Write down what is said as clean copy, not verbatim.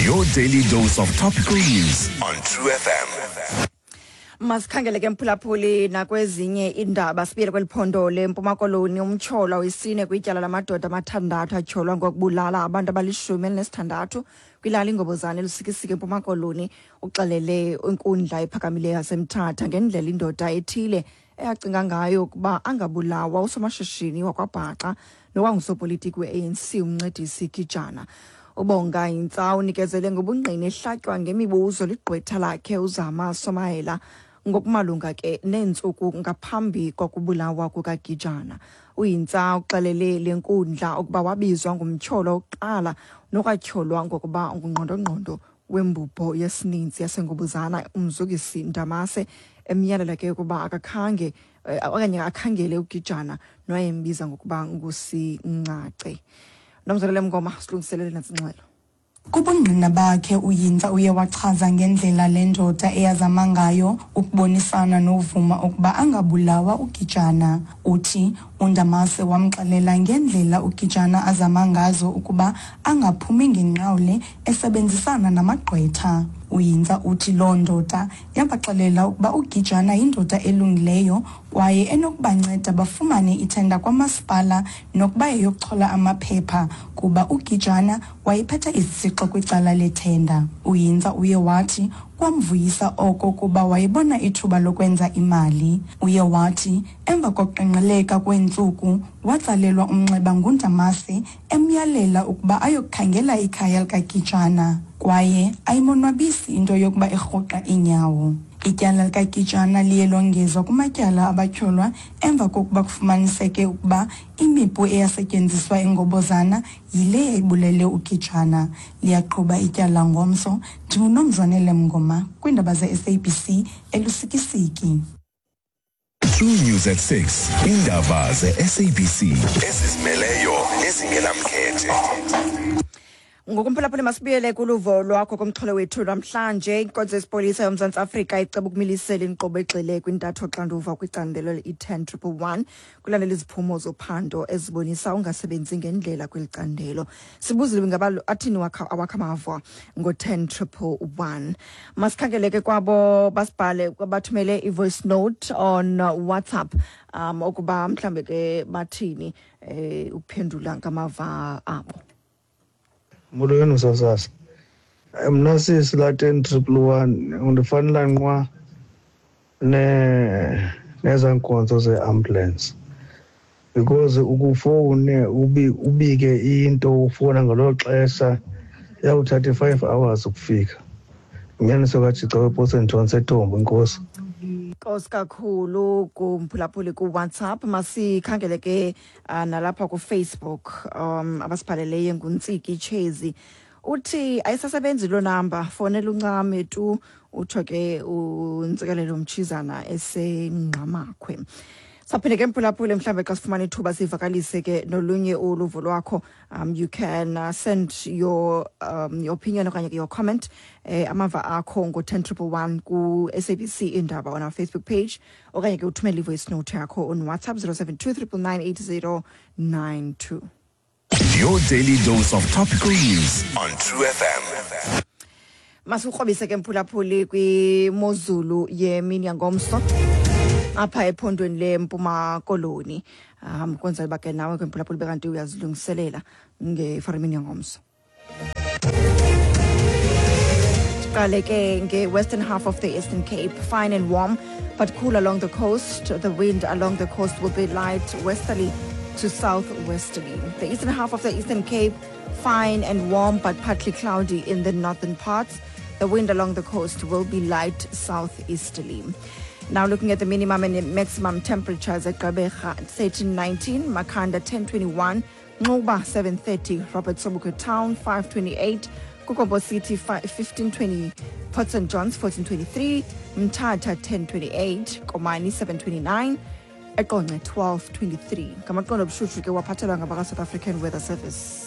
Your daily dose of topical news on True FM. Masikhangele ke, mphulaphuli, nakwezinye iindaba. Sibuyele kweli phondo leMpuma Koloni. Umtyholwa wesine kwityala lamadoda amathandathu atyholwa ngokubulala abantu abali-16 kwilali iNgobozane eLusikisiki eMpuma Koloni uxelele inkundla ephakamileyo yaseMthatha ngendlela indoda ethile eyacinga ngayo ukuba angabulawa usomashishini wakwaBhaca nowangusopolitiki we-ANC uMncedisi Gijana. UBonga Hintsa unikezele ngobungqina ehlatywa ngemibuzo ligqwetha lakhe uZama Somayela ngokumalunga ke neentsuku ngaphambi kokubulawa kukaGijana. UHintsa uxelele le nkundla ukuba wabizwa ngumtyholwa wokuqala nokwatyholwa ngokuba ngungqondongqondo wembubho yesininzi yaseNgobozana uMzukisi Ndamase, emyalela ke ukuba akakhange okanye akhangele uGijana nowayembiza ngokuba nguSincace. Nomzalele Mngoma silungiselele nantsi ingxelo. Kubungqina bakhe, uHintsa uye wachaza ngendlela le ndoda eyazama ngayo ukubonisana novuma ukuba angabulawa uGijana. Uthi uNdamase wamxelela ngendlela uGijana azama ngazo ukuba angaphumi ngenqawule esebenzisana namagqwetha. UHintsa uthi loo ndoda yabaxelela ukuba uGijana yindoda elungileyo kwaye enokubanceda bafumane ithenda kwamasipala nokuba yeyokuchola amaphepha, kuba uGijana wayephethe isitsixo kwicala lethenda. UHintsa uye wathi kwamvuyisa oko kuba wayebona ithuba lokwenza imali. Uye wathi emva kokuqengqeleka kweentsuku watsalelwa umnxeba nguNdamase emyalela ukuba ayokukhangela ikhaya likaGijana kwaye ayimonwabisi into yokuba erhuqa iinyawo. Ityala likaGijana liye longezwa kumatyala abatyholwa emva kokuba kufumaniseke ukuba imipu eyasetyenziswa eNgobozana yile yayibulele uGijana. Liyaqhuba ityala ngomso. NdinguNomzwanele Mngoma kwiindaba ze-SABC eLusikisiki. True News at 6. Indaba ze-SABC ezizimeleyo nezingenamkhethe. Ngokumphulaphula, masibuyele kuluvo lwakho kumxholo wethu namhlanje. Inkonzo yesipolisa yoMzantsi Afrika iceba ukumilisela inkqubo egxile kwintatho xanduva kwicandelo i-10111 kulandela iziphumo zophando ezibonisa ungasebenzi ngendlela kweli candelo. Sibuzile ingaba athini awakho amava ngo-10111. Masikhangele ke kwabo basibhale, bathumele i-voice note on WhatsApp ukuba mhlambe ke bathini ukuphendula ngamava abo. Molweni msasazi. Mna sisi, laa 10111 undifanela nqwa nezaa nkonzo zeambulance, because ukufowune ubike into, ufowuna ngelo xesha, iyawuthatha i-5 hours ukufika. Inyaniso kaJica wePort St John seTombo. Inkosi. Nkosi kakhulu kumphulaphuli kuWhatsApp. Masikhangele ke nalapha kuFacebook abasibhaleleyo. NguNtsiki Chezi, uthi ayisasebenzi loo namba, fonela uncame tu. Utsho ke uNtsikelelo Mtshizana eseNgqamakhwe. Saphinde ke mphulaphule, mhlawumbe xa sifumana ithuba sivakalise ke nolunye uluvo lwakho. You can send your opinion okanye ke your comment, amava akho ngo-10111 ku-SABC Indaba on our Facebook page, okanye ke uthumele i-voice note yakho on WhatsApp 072 999 8092. Your daily dose of topical news on True FM. Masikrobise ke mphulaphuli kwimozulu yemini yangomso apha ephondweni leMpuma Koloni, kwenzela uba ke nawe ke mphulaphuli bekanti uyazilungiselela ngefarimini yangomso. Siqale ke nge-western half of the Eastern Cape: fine and warm but cool along the coast. The wind along the coast will be light westerly to southwesterly. The eastern half of the Eastern Cape: fine and warm but partly cloudy in the northern parts. The wind along the coast will be light southeasterly. Now looking at the minimum and maximum temperatures at Gqeberha 1319, Makhanda 1021, Nxuba 730, Robert Sobukwe Town 528, KuGompo City 1520, Port St Johns 1423, Mthatha 1028, Komani 729, eQonce 1223. Ngamaqondo obushushu ke waphathelwa ngabaka South African Weather Service.